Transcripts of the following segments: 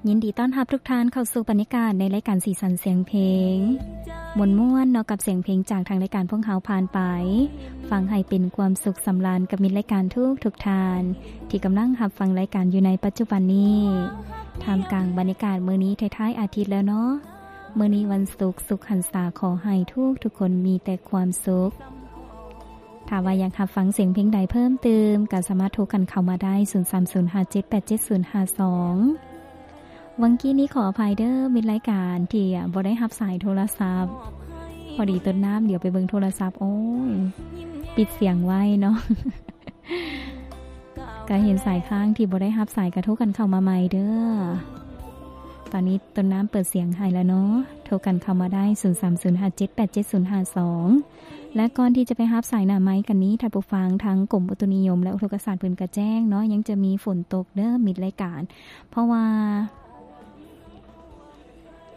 ຍິນດີຕ້ອນຮັບທຸກທ່ານເຂົ້າສູ່ບັນຍາກາດໃນລາຍການສີສັນສຽງເພງ ມ່ວນໆເນາະ ກັບສຽງເພງຈາກທາງລາຍການພວກເຮົາຜ່ານໄປ. ຟັງໃຫ້ເປັນຄວາມສຸກສຳລານກັບມິດລາຍການທຸກໆທ່ານ ທີ່ກຳລັງຮັບຟັງລາຍການຢູ່ໃນປັດຈຸບັນນີ້ ທ່າມກາງບັນຍາກາດມື້ນີ້ທ້າຍໆອາທິດແລ້ວເນາະ. ມື້ນີ້ວັນສຸກ ສຸກຫັນສາ ຂໍໃຫ້ທຸກໆຄົນມີແຕ່ຄວາມສຸກ. ຖ້າວ່າຢາກຮັບຟັງສຽງເພງໃດເພີ່ມຕື່ມ ກໍສາມາດໂທກັນເຂົ້າມາໄດ້ ສູນສາມສູນຫ້າເຈັດແປດເຈັດສູນຫ້າສອງ. ຫວ່າງກີ້ນີ້ຂໍອະໄພເດີ້ ມິດລາຍການທີ່ບໍ່ໄດ້ຮັບສາຍໂທລະສັບ ພໍດີຕົ້ນນ້ຳດຽວໄປເບິ່ງໂທລະສັບ ໂອ້ຍ ປິດສຽງໄວ້ເນາະ ກໍເຫັນສາຍຄ້າງທີ່ບໍ່ໄດ້ຮັບສາຍ ກໍໂທກັນເຂົ້າມາໃໝ່ເດີ້. ຕອນນີ້ຕົ້ນນ້ຳເປີດສຽງໃຫ້ແລ້ວເນາະ ໂທກັນເຂົ້າມາໄດ້ ສູນສາມສູນຫ້າເຈັດແປດເຈັດສູນຫ້າສອງ. ແລະ ກ່ອນທີ່ຈະໄປຮັບສາຍໜ້າໄມກັນນີ້ ທ່ານຜູ້ຟັງ ທາງກົມອຸຕຸນິຍົມ ແລະ ອຸທົກກະສາດເພິ່ນກະແຈ້ງເນາະ ຍັງຈະມີຝົນຕົກເດີ້ມິດລາຍການ ເພາະວ່າ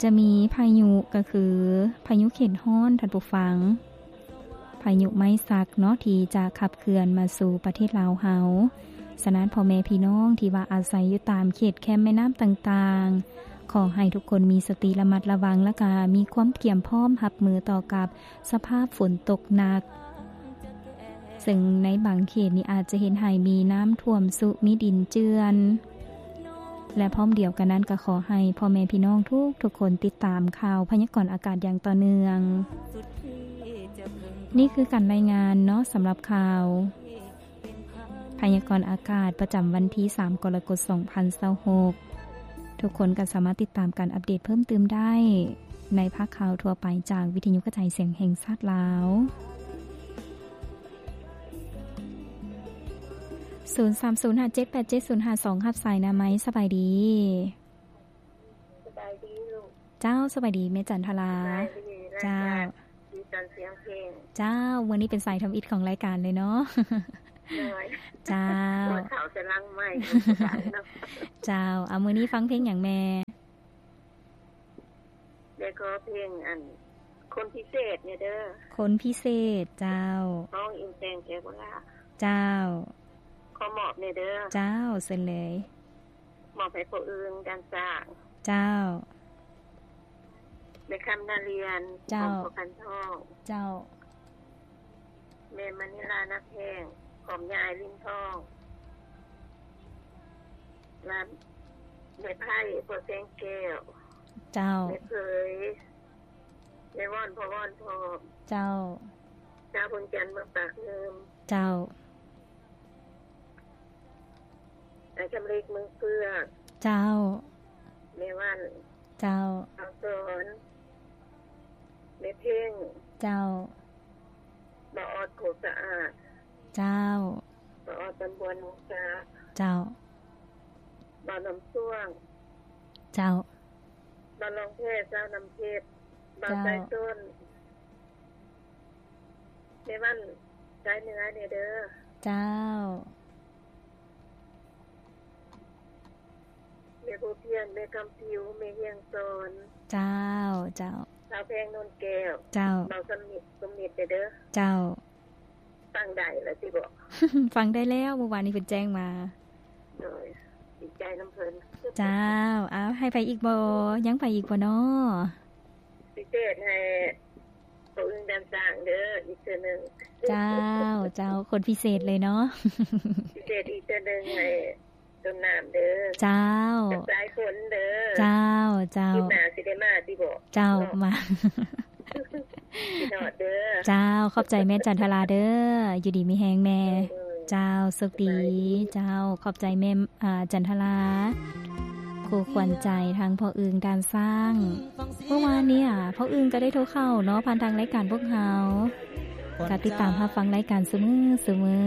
ຈະມີພາຍຸ ກໍຄືພາຍຸເຂດຮ້ອນ ທ່ານຜູ້ຟັງ ພາຍຸໄມ້ສັກເນາະ ທີ່ຈະຂັບເຄື່ອນມາສູ່ປະເທດລາວເຮົາ. ສະນັ້ນ ພໍ່ແມ່ພີ່ນ້ອງທີ່ວ່າອາໄສຢູ່ຕາມເຂດແຄມແມ່ນ້ຳຕ່າງໆ ຂໍໃຫ້ທຸກຄົນມີສະຕິລະມັດລະວັງ ແລ້ວກະມີຄວາມກຽມພ້ອມຮັບມືຕໍ່ກັບສະພາບຝົນຕົກໜັກ ເຊິ່ງໃນບາງເຂດນີ້ອາດຈະເຮັດໃຫ້ມີນ້ຳຖ້ວມຊຸ ມີດິນເຈື່ອນ ແລະ ພ້ອມດຽວກັນນັ້ນກໍຂໍໃຫ້ພໍ່ແມ່ພີ່ນ້ອງທຸກໆຄົນຕິດຕາມຂ່າວພະຍາກອນອາກາດຢ່າງຕໍ່ເນື່ອງ. ນີ້ຄືການລາຍງານເນາະ ສຳລັບຂ່າວ ພະຍາກອນອາກາດປະຈຳວັນທີສາມ ກໍລະກົດ ສອງພັນຊາວຫົກ. ທຸກຄົນກໍສາມາດຕິດຕາມການອັບເດດເພີ່ມຕື່ມໄດ້ໃນພາກຂ່າວທົ່ວໄປຈາກວິທະຍຸກະຈາຍສຽງແຫ່ງຊາດລາວ. ສູນສາມສູນຫ້າເຈັດແປດເຈັດສູນຫ້າສອງ ຮັບສາຍໜ້າໄມ. ສະບາຍດີ. ສະບາຍດີລູກ. ເຈົ້າ ສະບາຍດີແມ່ຈັນທະລາ. ສະບາຍດີ. ເຈົ້າ ລາຍການສີສັນສຽງເພງ. ເຈົ້າ ມື້ນີ້ເປັນສາຍທຳອິດຂອງລາຍການເລີຍເນາະ. ໂດຍ. ເຈົ້າ ເຂົ້າແຕ່ຫຼັງໄມ. ເຈົ້າ ເອົາ ມື້ນີ້ຟັງເພງຫຍັງແມ່? ແມ່ຂໍເພງອັນ ຄົນພິເສດແດ່ເດີ້. ຄົນພິເສດ. ເຈົ້າ ຮ້ອງອີງແຕ່ງແກ່ໂບລາ. ເຈົ້າ ຂໍມອບແດ່ເດີ້. ເຈົ້າ ເຊີນເລີຍ. ມອບໃຫ້ພໍ່ອຶ່ງ ດານຊ້າງ. ເຈົ້າ ແມ່ຄຳ ນາລຽນ. ເຈົ້າ ຂອງພໍ່ຂັນທອງ. ເຈົ້າ ແມ່ມະນີລາ ນາແພງ ຂອງຍາຍລິນທອງ ແລະ ແມ່ໄພ ພໍ່ແສງແກ້ວ. ເຈົ້າ ແມ່ເຜີຍ ແມ່ວອນ ພໍ່ວອນ ພ້ອມ. ເຈົ້າ ຊາວເມືອງຈັນ ເມືອງປາກງື່ມ. ເຈົ້າ ອ້າຍຄຳເລັກ ເມືອງເຟືອກ. ເຈົ້າ ແມ່ວັນ. ເຈົ້າ ອາວສອນ ແມ່ເພັງ. ເຈົ້າ ບ່າວອອດ ໂຄກສະອາດ. ເຈົ້າ ບ່າວອອດ ຕຳບວນ ວົງສາ. ເຈົ້າ ບ່າວນ້ຳຊ່ວງ. ເຈົ້າ ບ່າວລອງແພ ຊາວນ້ຳເພັດ. ບ່າວ ເຈົ້າ ສາຍຊົນ. ແມ່ວັນ ສາຍເໜືອແດ່ເດີ້. ເຈົ້າ ແມ່ບົວພຽນ ແມ່ຄຳຜິວ ແມ່ຮຽງສອນ. ເຈົ້າ ເຈົ້າ ສາວແພງ ໂນນແກ້ວ. ເຈົ້າ ເບົາສຳນິດ ສົມນິດແດ່ເດີ້. ເຈົ້າ ຟັງໄດ້ແລ້ວຕິບໍ? ຟັງໄດ້ແລ້ວ ມື້ວານນີ້ເພິ່ນແຈ້ງມາ. ໂດຍ ດີໃຈນຳເພິ່ນ. ເຈົ້າ ເອົາ ໃຫ້ໃຜອີກບໍ່? ຍັງໃຜອີກບໍ່ນໍ? ພິເສດໃຫ້ ພໍ່ອຶ່ງ ດານຊ້າງເດີ້ ອີກເທື່ອໜຶ່ງ. ເຈົ້າ ເຈົ້າ ຄົນພິເສດເລີຍເນາະ. ພິເສດອີກເທື່ອໜຶ່ງໃຫ້ຕົ້ນນ້ຳເດີ້. ເຈົ້າ ກັບສາຍຝົນເດີ້. ເຈົ້າ ເຈົ້າ ຄລິບໜ້າຊິໄດ້ມາຕິບໍ? ເຈົ້າ ເນາະ ມາ ຄິດຮອດເດີ້. ເຈົ້າ ຂອບໃຈແມ່ຈັນທະລາເດີ້ ຢູ່ດີມີແຮງແມ່. ເອີ ເຈົ້າ ໂຊກດີ. ເຈົ້າ ຂອບໃຈແມ່ ອາ ຈັນທະລາ ຄູ່ຂວັນໃຈທາງພໍ່ອຶ່ງ ດານຊ້າງ. ເມື່ອວານນີ້ ພໍ່ອຶ່ງກໍໄດ້ໂທເຂົ້າເນາະ ຜ່ານທາງລາຍການພວກເຮົາ ກໍຕິດຕາມຮັບຟັງລາຍການຊຸມື້ ຊຸມື້.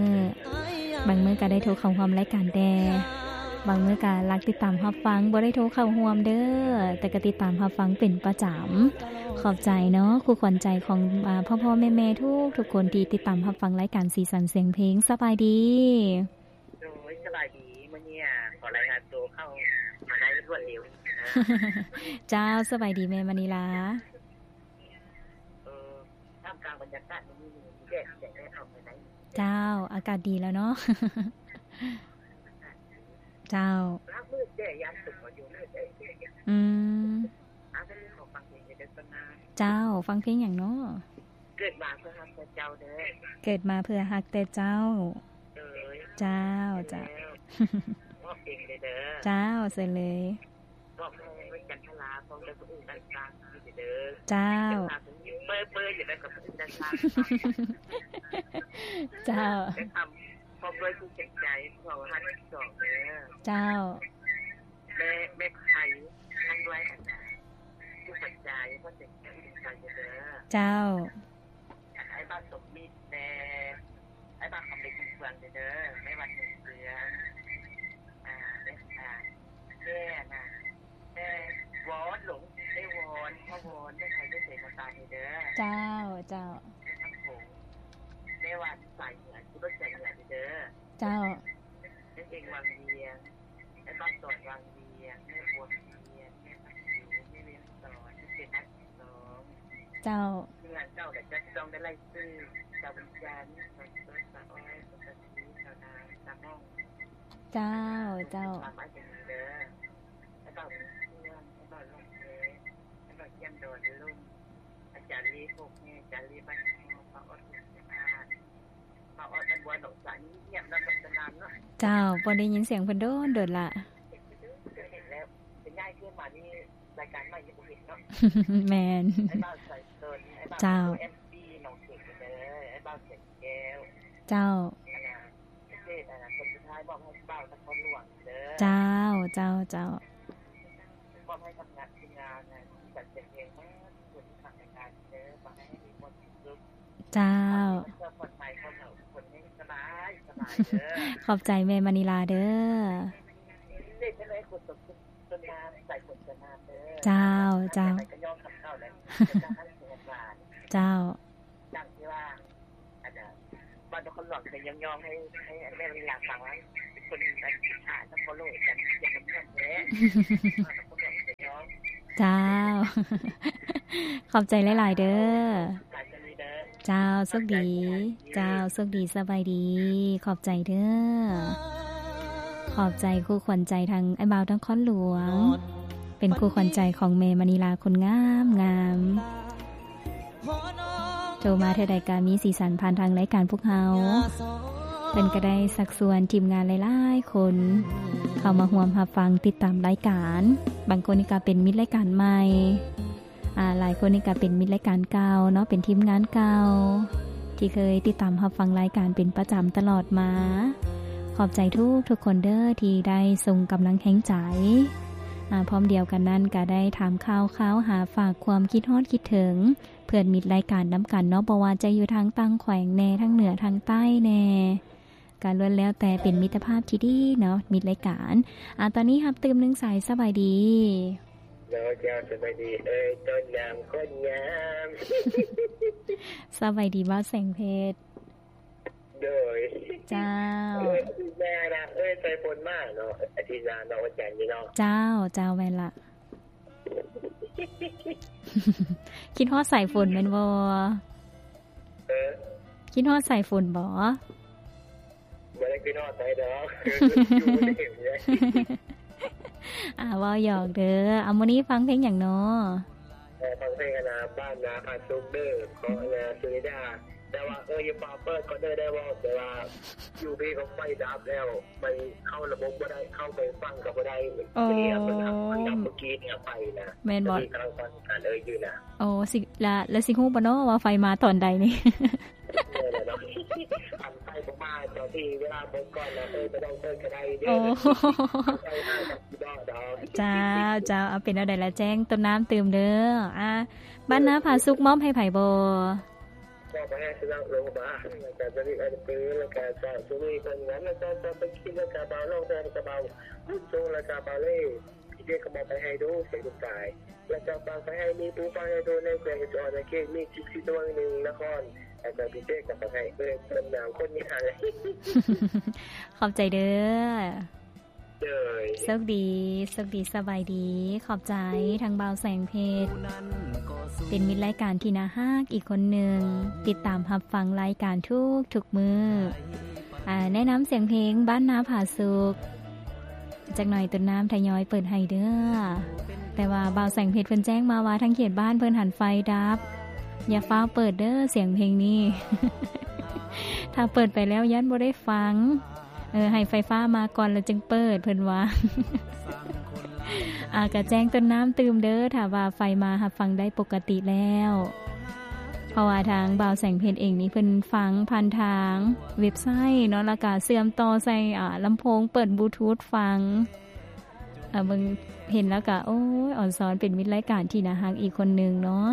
ບາງມື້ກໍໄດ້ໂທເຂົ້າຮ່ວມລາຍການແດ່ ບາງມື້ກໍລັກຕິດຕາມຮັບຟັງ ບໍ່ໄດ້ໂທເຂົ້າຮ່ວມເດີ້ ແຕ່ກໍຕິດຕາມຮັບຟັງເປັນປະຈຳ. ຂອບໃຈເນາະ ຄູ່ຂວັນໃຈຂອງ ອາ ພໍ່ໆແມ່ໆທຸກໆຄົນທີ່ຕິດຕາມຮັບຟັງລາຍການສີສັນສຽງເພງ. ສະບາຍດີ. ໂດຍ ສະບາຍດີ. ມື້ນີ້ ອາ ຂໍລາຍງານໂຕເຂົ້າມາໄດ້ລວດເລັວ. ເຈົ້າ ສະບາຍດີແມ່ມະນີລາ. ເອີ ທ່າມກາງບັນຍາກາດມື້ນີ້ ມີແດດ ແດດອອກມາໄດ້. ເຈົ້າ ອາກາດດີແລ້ວເນາະ. ເຈົ້າ ລາບມືດແດ່ ຢ້ານຕົກມາຢູ່ມືດແດ່. ອືມ ເຈົ້າ ຟັງເພງຫຍັງເນາະ? ເກີດມາເພື່ອຮັກແຕ່ເຈົ້າເດີ ເກີດມາເພື່ອຮັກແຕ່ເຈົ້າ. ເຈົ້າ ເຈົ້າ ເຈົ້າ ເຊີນເລີຍ. ເຈົ້າ ເຈົ້າ ເຈົ້າ ແມ່ ແມ່ໄພ ທາງດ້ວຍອັນນ່າ ຜູ້ປັດຈາຍ ພໍ່ເສັງແກ້ວ ເຈົ້າ ອັນອ້າຍບ່າວສົມມິດແດ່ ອ້າຍບ່າວຄຳເລັກ ເມືອງເຟືອງເດີ ແມ່ວັນເມືອງເຟືອງ ອ່າ ແມ່ ອ່າ ແມ່ອັນນ່າ ແມ່ວອນ ແມ່ວອນ ແມ່ວອນ ແມ່ໄພ ແມ່ເສນາຕາເດີ. ເຈົ້າ ເຈົ້າ ແມ່ວັນສາຍເໜືອ ຂີ່ລົດສາຍເໜືອເດີ. ເຈົ້າ ແມ່ເອັງວັງວຽງ ອ້າຍບ່າວສອນວັງວຽງ ແມ່ບົວວຽງ ແມ່ພັກຢູ່ ແມ່ວຽງສອນ ແມ່ເປັນນັກຮ້ອງ. ເຈົ້າ ເມືອງເກົ່າແຫຼະ ຈັກຕ້ອງໄດ້ໄລ່ຊື່ ສາວບຸນຈັນ ສາວເປີດ ສາວອ້ອຍ ສາວກະສີ ສາວນາງ ສາວຫ້ອງ. ເຈົ້າ ເຈົ້າ ຕາມອ້າຍເປັນເດີ ອ້າຍບ່າວເມືອງເຟືອງ ອ້າຍບ່າວລົງເພ ອ້າຍບ່າວຢ້ຽມດອນລຸງ ອາຈານລີໂຄກແຮ ອາຈານລີບ້ານເຮົາ ປ້າອອດ ປ້າອອດ ບ້ານບົວ ໜອງສາ ງຽບໆ ນຳກັນນານເນາະ. ເຈົ້າ ບໍ່ໄດ້ຍິນສຽງເພິ່ນດົນໆລະ ເຫັນແລ້ວ ເປັນຍ້າຍເທື່ອມານີ້ ລາຍການໃໝ່ຍັງບໍ່ເຫັນເນາະ. ແມ່ນ ອ້າຍບ່າວສາຍຊົນ ອ້າຍບ່າວ ເຈົ້າ ເອັມຊີ ໜອງເຂດເດີ ອ້າຍບ່າວແສງແກ້ວ. ເຈົ້າ ອັນນ່າ ເຂດ ອັນນ່າ ຄົນສຸດທ້າຍມອບໃຫ້ບ່າວນະຄອນຫຼວງເດີ. ເຈົ້າ ເຈົ້າ ເຈົ້າ ມອບໃຫ້ກັບງານ ທີມງານ ອັນ ຈັດແສດງເພງໝົດ ທຸກຄົນທີ່ຟັງລາຍການເດີ ຂໍໃຫ້ມີຄວາມສຸກ. ເຈົ້າ ເພື່ອປອດໄພ ເຂົາເຖົ້າທຸກຄົນໃຫ້ສະບາຍ ສະບາຍເດີ. ຂອບໃຈແມ່ມະນີລາເດີ. ເດັກນ້ອຍຄົນຕົກ ເຈົ້າ ເຈົ້າ ເຈົ້າ ດັ່ງທີ່ວ່າ ອັນນ່າ ບ້ານນະຄອນຫຼວງເຄີຍຍ້ອງໆໃຫ້ ໃຫ້ແມ່ມະນີລາຟັງວ່າ ເປັນຄົນ ອັນ ອິດສານະຄອນຫຼວງກັນ ເປັນນຳເພື່ອນແທ້. ເຈົ້າ ຂອບໃຈຫຼາຍໆເດີ. ເຈົ້າ ໂຊກດີ ເຈົ້າ ໂຊກດີ ສະບາຍດີ ຂອບໃຈເດີ. ຂອບໃຈຄູ່ຂວັນໃຈທາງອ້າຍບ່າວນະຄອນຫຼວງ ເປັນຄູ່ຂວັນໃຈຂອງແມ່ມະນີລາຄົນງາມໆ ໂທມາເທື່ອໃດກະມີສີສັນຜ່ານທາງລາຍການພວກເຮົາ. ເພິ່ນກະໄດ້ຊັກຊວນທີມງານຫຼາຍໆຄົນ ເຂົ້າມາຮ່ວມຮັບຟັງຕິດຕາມລາຍການ. ບາງຄົນນີ້ກະເປັນມິດລາຍການໃໝ່ ອາ ຫຼາຍຄົນນີ້ກະເປັນມິດລາຍການເກົ່າເນາະ ເປັນທີມງານເກົ່າ ທີ່ເຄີຍຕິດຕາມຮັບຟັງລາຍການເປັນປະຈຳຕະຫຼອດມາ. ຂອບໃຈທຸກໆຄົນເດີ ທີ່ໄດ້ສົ່ງກຳລັງແຮງໃຈ. ອາ ພ້ອມດຽວກັນນັ້ນກະໄດ້ຖາມຂ່າວຄາວ ຫາຝາກຄວາມຄິດຮອດຄິດເຖິງ ເພື່ອນມິດລາຍການນຳກັນເນາະ ບໍ່ວ່າຈະຢູ່ທາງຕ່າງແຂວງແດ່ ທາງເໜືອ ທາງໃຕ້ແດ່ ກະລ້ວນແລ້ວແຕ່ເປັນມິດຕະພາບທີ່ດີເນາະ ມິດລາຍການ. ອາ ຕອນນີ້ຮັບຕື່ມໜຶ່ງສາຍ. ສະບາຍດີ. ເຈົ້າ ສະບາຍດີເອີຍ ຕົ້ນນ້ຳຄົນງາມ. ສະບາຍດີບ່າວແສງເພັດ. ໂດຍ ເຈົ້າ ເອີຍ ອາທິດໜ້ານະ ເອີຍ ສາຍຝົນມາເນາະ ອາທິດໜ້າເນາະ ວັນຈັນນີ້ເນາະ. ເຈົ້າ ເຈົ້າ ແມ່ນລະ. ຄິດຮອດສາຍຝົນແມ່ນບໍ່? ເອີ ຄິດຮອດສາຍຝົນບໍ່? ບໍ່ໄດ້ຄິດຮອດໃສດອກ ຢູ່ໃນເຂດນີ້. ອາ ເວົ້າຫຍອກເດີ. ອາ ມື້ນີ້ຟັງເພງຫຍັງເນາະ? ເອີ ຟັງເພງອັນນ່າ ບ້ານນາຜາສຸກເດີ ຂອງອັນນ່າ ສຸນິດາ. ແຕ່ວ່າ ເອີ ຢ່າຟ້າວເປີດກ່ອນເດີ ໄດ້ເວົ້າ ແຕ່ວ່າຢູ່ພີ້ກໍໄຟດັບແລ້ວ ໄປເຂົ້າລະບົບບໍ່ໄດ້ ເຂົ້າໄປຟັງກໍບໍ່ໄດ້. ໂອ້ ເພິ່ນດັບ ເພິ່ນດັບມື້ກີ້ນີ້ໄຟນະ. ແມ່ນບໍ່? ກຳລັງຟັງການເອີຍຢູ່ນະ. ໂອ້ ຊິ ລະ ລະຊິຮູ້ບໍ່ເນາະວ່າໄຟມາຕອນໃດນີ້? ແມ່ນແຫຼະເນາະ ຄັນໄຟບໍ່ມາຕອນທີ່ເວລາໝົດກ່ອນນະ ເອີຍ ບໍ່ຕ້ອງເປີດກໍໄດ້ເດີ. ໂອ້ ເຈົ້າ ເຈົ້າ ເອົາ ເປັນແນວໃດລະ ແຈ້ງຕົ້ນນ້ຳຕື່ມເດີ. ອາ ບ້ານນາຜາສຸກມອບໃຫ້ໃຜບໍ່? ມອບໃຫ້ສະໜັບລົງບາ ແລ້ວກະຈະມີອັນເປີ ແລ້ວກະຈະສຸມີຄົນງາມ ແລ້ວກະຈະໄປກິນ ແລ້ວກະບ່າວລອງແພ ແລ້ວກະບ່າວບຸນຊົງ ແລ້ວກະບ່າວເລ ພີ່ເຈ້ກໍມອບໄປໃຫ້ດູ ເປັນລູກຊາຍ ແລ້ວກະຝາກໄປໃຫ້ມີປູຝາກໃຫ້ໂຕ ໃນແຂວງເອສອນ ໃນເຂດມີສິບສີ່ຕົວໜຶ່ງນະຄອນ ແລ້ວກະພີ່ເຈ້ກໍຝາກໃຫ້ເອີຍ ເປັນນາງຄົນຍາແຫຼະ. ຂອບໃຈເດີ. ໂດຍ ໂຊກດີ ໂຊກດີ ສະບາຍດີ. ຂອບໃຈທາງບ່າວແສງເພັດ ເປັນມິດລາຍການທີ່ໜ້າຮັກອີກຄົນໜຶ່ງ ຕິດຕາມຮັບຟັງລາຍການທຸກໆມື້. ອາ ແນະນຳສຽງເພງບ້ານນາຜາສຸກ ຈັກໜ່ອຍຕົ້ນນ້ຳທະຍອຍເປີດໃຫ້ເດີ້. ແຕ່ວ່າບ່າວແສງເພັດເພິ່ນແຈ້ງມາວ່າ ທາງເຂດບ້ານເພິ່ນຫັ້ນໄຟດັບ. ຢ່າຟ້າວເປີດເດີ້ສຽງເພງນີ້. ຖ້າເປີດໄປແລ້ວຢ້ານບໍ່ໄດ້ຟັງ. ເອີ ໃຫ້ໄຟຟ້າມາກ່ອນແລ້ວຈຶ່ງເປີດ ເພິ່ນວ່າ. ອາ ກະແຈ້ງຕົ້ນນ້ຳຕື່ມເດີ້ ຖ້າວ່າໄຟມາຮັບຟັງໄດ້ປົກກະຕິແລ້ວ. ເພາະວ່າທາງບ່າວແສງເພັດເອງນີ້ ເພິ່ນຟັງຜ່ານທາງເວັບໄຊເນາະ ແລ້ວກະເຊື່ອມຕໍ່ໃສ່ ອາ ລຳໂພງ ເປີດບລູທູດຟັງ. ອາ ເບິ່ງ ເຫັນແລ້ວກະ ໂອ້ຍ ອອນຊອນເປັນມິດລາຍການທີ່ໜ້າຮັກອີກຄົນໜຶ່ງເນາະ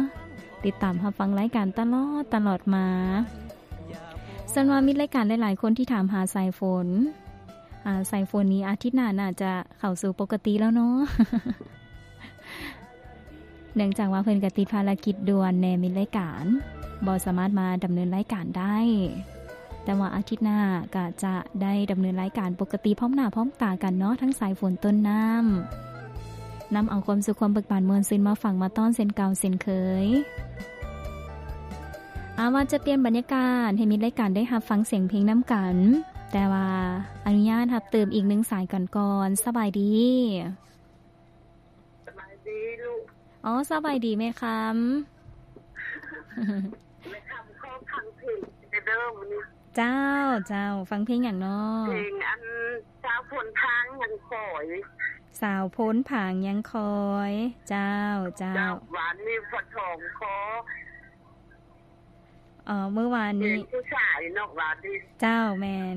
ຕິດຕາມຮັບຟັງລາຍການຕະຫຼອດ ຕະຫຼອດມາ. ສ່ວນວ່າມິດລາຍການຫຼາຍໆຄົນທີ່ຖາມຫາສາຍຝົນ ອາ ສາຍຝົນນີ້ອາທິດໜ້າໜ້າຈະເຂົ້າສູ່ປົກກະຕິແລ້ວເນາະ. ເນື່ອງຈາກວ່າເພິ່ນກະຕິດພາລະກິດດ່ວນແດ່ ມິດລາຍການບໍ່ສາມາດມາດຳເນີນລາຍການໄດ້, ແຕ່ວ່າອາທິດໜ້າກະຈະໄດ້ດຳເນີນລາຍການປົກກະຕິ ພ້ອມໜ້າພ້ອມຕາກັນເນາະ ທັງສາຍຝົນ ຕົ້ນນ້ຳ ນຳເອົາຄວາມສຸກຄວາມເບີກບານມ່ວນຊື່ນມາຝາກມາຕ້ອນເຊັ່ນເກົ່າເຊັ່ນເຄີຍ. ອາ ວ່າຈະປ່ຽນບັນຍາກາດໃຫ້ມິດລາຍການໄດ້ຮັບຟັງສຽງເພງນຳກັນ, ແຕ່ວ່າອະນຸຍາດຮັບຕື່ມອີກໜຶ່ງສາຍກັນກ່ອນ. ສະບາຍດີ. ສະບາຍດີລູກ. ອໍ ສະບາຍດີແມ່ຄຳ. ແມ່ຄຳຂໍຟັງເພງແດ່ເດີ້ມື້ນີ້. ເຈົ້າ ເຈົ້າ ຟັງເພງຫຍັງນໍ? ເພງອັນ ສາວຝົນພາງຍັງຄອຍ. ສາວຝົນພາງຍັງຄອຍ. ເຈົ້າ ເຈົ້າ. ເຈົ້າ ວານນີ້ພໍ່ທອງຂໍ ເອີ ມື້ວານນີ້ ເພງຜູ້ຊາຍເນາະ ວານນີ້. ເຈົ້າ ແມ່ນ.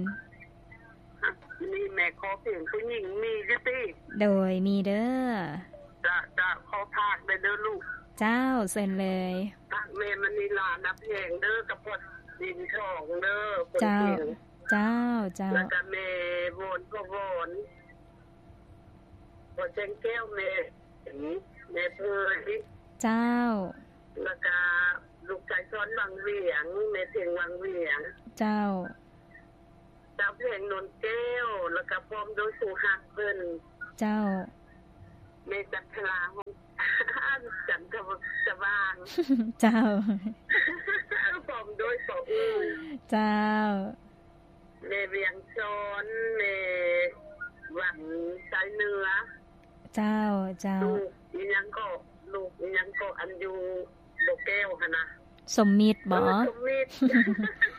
ນີ້ແມ່ຂໍເພງຜູ້ຍິງມີຢູ່ຕິ? ໂດຍ ມີເດີ້. ຈະ ຈະຂໍຝາກໄດ້ເດີ້ລູກ. ເຈົ້າ ເຊີນເລີຍ. ຝາກແມ່ມະນີລາ ນາແພງເດີ້ ກັບພໍ່ດິນທອງເດີ້. ເຈົ້າ ເຈົ້າ ເຈົ້າ. ແລ້ວກະແມ່ວອນ ພໍ່ວອນ. ພໍ່ແສງແກ້ວ ແມ່ ແມ່ເພີຍ. ເຈົ້າ. ແລ້ວກະລູກຊາຍສອນວັງວຽງ ແມ່ເພັງວັງວຽງ. ເຈົ້າ. ສາວແພງ ນວນແກ້ວ ແລ້ວກະພ້ອມດ້ວຍຜູ້ຮັກເພິ່ນ. ເຈົ້າ. ແມ່ຈັນທະລາ ຮອງ ຈັນທະ ສະຫວ່າງ. ເຈົ້າ. ພ້ອມດ້ວຍພໍ່ອຶ້ງ. ເຈົ້າ. ແມ່ວຽງຊອນ ແມ່ວັນໄຊເໜືອ. ເຈົ້າ ເຈົ້າ. ລູກອີ່ຫຍັງເກາະ ລູກອີ່ຫຍັງເກາະ ອັນຢູ່ບໍ່ແກ້ວຫັ້ນນະ. ສົມມິດບໍ? ເອີ ສົມມິດ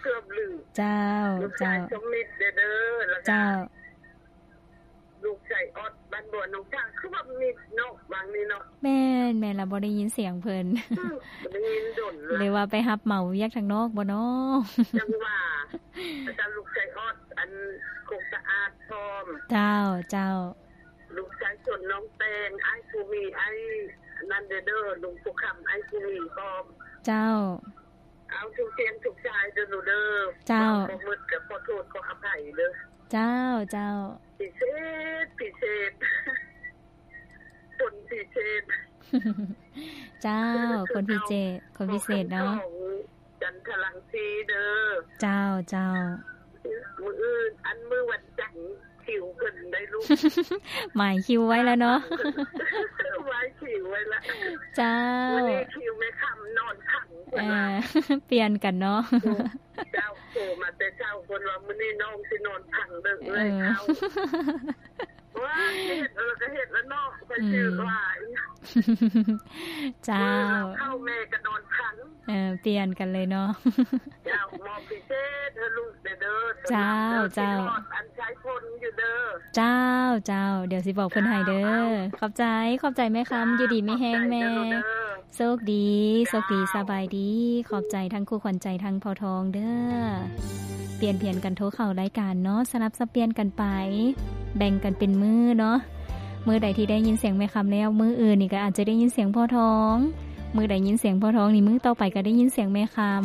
ເກືອບລືມ. ເຈົ້າ ເຈົ້າ. ລູກຊາຍສົມມິດເດີ້ ແລ້ວກະ ເຈົ້າ ລູກຊາຍອອດ ບ້ານບົວໜອງສາ ຄືວ່າມິດເນາະ ຫວ່າງນີ້ເນາະ. ແມ່ນ ແມ່ນລະ ບໍ່ໄດ້ຍິນສຽງເພິ່ນ. ອືມ ບໍ່ໄດ້ຍິນດົນລະ ຫຼືວ່າໄປຮັບເໝົາວຽກທາງນອກບໍນໍ? ຈັ່ງວ່າ ແລ້ວກະລູກຊາຍອອດ ອັນ ໂຄກສະອາດພ້ອມ. ເຈົ້າ ເຈົ້າ. ລູກຊາຍຊົນ ນ້ອງແຕງ ອ້າຍພູມີ ອ້າຍນັ້ນເດີ້ ລຸງພູຄຳ ອ້າຍພູມີພ້ອມ. ເຈົ້າ. ເອົາທຸກສຽງທຸກສາຍເດີ້ລູກເດີ້. ເຈົ້າ. ເວົ້າບໍ່ໝົດກະຂໍໂທດຂໍອະໄພເດີ້. ເຈົ້າ ເຈົ້າ. ພິເສດ ພິເສດ ຄົນພິເສດ. ເຈົ້າ ຄົນພິເສດ ຄົນພິເສດເນາະ. ຈັນທະລັງສີເດີ້. ເຈົ້າ ເຈົ້າ. ມື້ອື່ນ ອັນ ມື້ວັນຈັນຄິວເພິ່ນໄດ້ລູກ. ໝາຍຄິວໄວ້ແລ້ວເນາະ. ໝາຍຄິວໄວ້ລະ. ເຈົ້າ. ມື້ນີ້ຄິວແມ່ຄຳນອນພັງເພິ່ນວ່າ. ເອີ ປ່ຽນກັນເນາະ. ເຈົ້າ ໂທມາແຕ່ເຊົ້າ ເພິ່ນວ່າ ມື້ນີ້ນ້ອງຊິນອນພັງເດີ້ ເອື້ອຍເຂົາ. ວ່າເຮັດແລ້ວກະເຮັດລະເນາະ ຂ້ອຍຊື່ວ່າ. ເຈົ້າ. ເຂົ້າແມ່ກະນອນຄັນ. ເອີ ປ່ຽນກັນເລີຍເນາະ. ເຈົ້າ ມອບພິເສດໃຫ້ລູກແດ່ເດີ້. ເຈົ້າ ເຈົ້າ. ອັນໃຊ້ພົນຢູ່ເດີ້. ເຈົ້າ ເຈົ້າ. ດຽວຊິບອກເພິ່ນໃຫ້ເດີ້. ເຈົ້າ. ຂອບໃຈ ຂອບໃຈແມ່ຄຳ. ເຈົ້າ. ຢູ່ດີມີແຮງແມ່. ໂຊກດີ ໂຊກດີ. ເຈົ້າ. ສະບາຍດີ. ຂອບໃຈທັງຄູ່ຂວັນໃຈ ທັງພໍ່ທອງເດີ້. ປ່ຽນຜຽນກັນໂທເຂົ້າລາຍການເນາະ ສະຫຼັບສັບປ່ຽນກັນໄປ ແບ່ງກັນເປັນມື້ເນາະ. ມື້ໃດທີ່ໄດ້ຍິນສຽງແມ່ຄຳແລ້ວ ມື້ອື່ນນີ້ກໍອາດຈະໄດ້ຍິນສຽງພໍ່ທອງ, ມື້ໃດຍິນສຽງພໍ່ທອງນີ້ ມື້ຕໍ່ໄປກໍໄດ້ຍິນສຽງແມ່ຄຳ.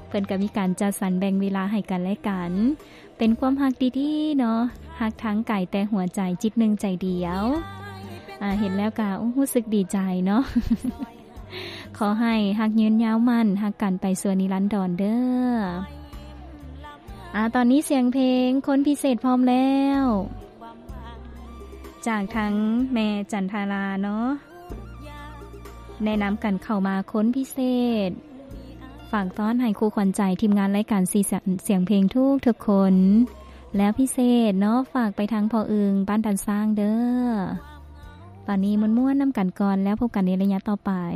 ເພິ່ນກໍມີການຈັດສັນແບ່ງເວລາໃຫ້ກັນແລະກັນ. ເປັນຄວາມຮັກດີໆເນາະ, ຮັກທາງກາຍແຕ່ຫົວໃຈ, ຈິດໜຶ່ງໃຈດຽວ. ອາ, ເຫັນແລ້ວກໍ, ໂອ້, ຮູ້ສຶກດີໃຈເນາະ. ຂໍໃຫ້ຮັກຍືນຍາວໝັ້ນ, ຮັກກັນໄປຊົ່ວນິລັນດອນເດີ້. ອາ, ຕອນນີ້ສຽງເພງຄົນພິເສດພ້ອມແລ້ວ ຈາກທາງແມ່ຈັນທາລາເນາະ. ແນະນຳກັນເຂົ້າມາຄົນພິເສດ, ຝາກຕ້ອນໃຫ້ຄູ່ຂວັນໃຈ ທີມງານລາຍການສີສຽງເພງທຸກໆຄົນ. ແລ້ວພິເສດເນາະ ຝາກໄປທາງພໍ່ອຶ່ງບ້ານດານຊ້າງເດີ້. ຕອນນີ້ມ່ວນໆນຳກັນກ່ອນ ແລ້ວພົບກັນໃນໄລຍະຕໍ່ໄປ.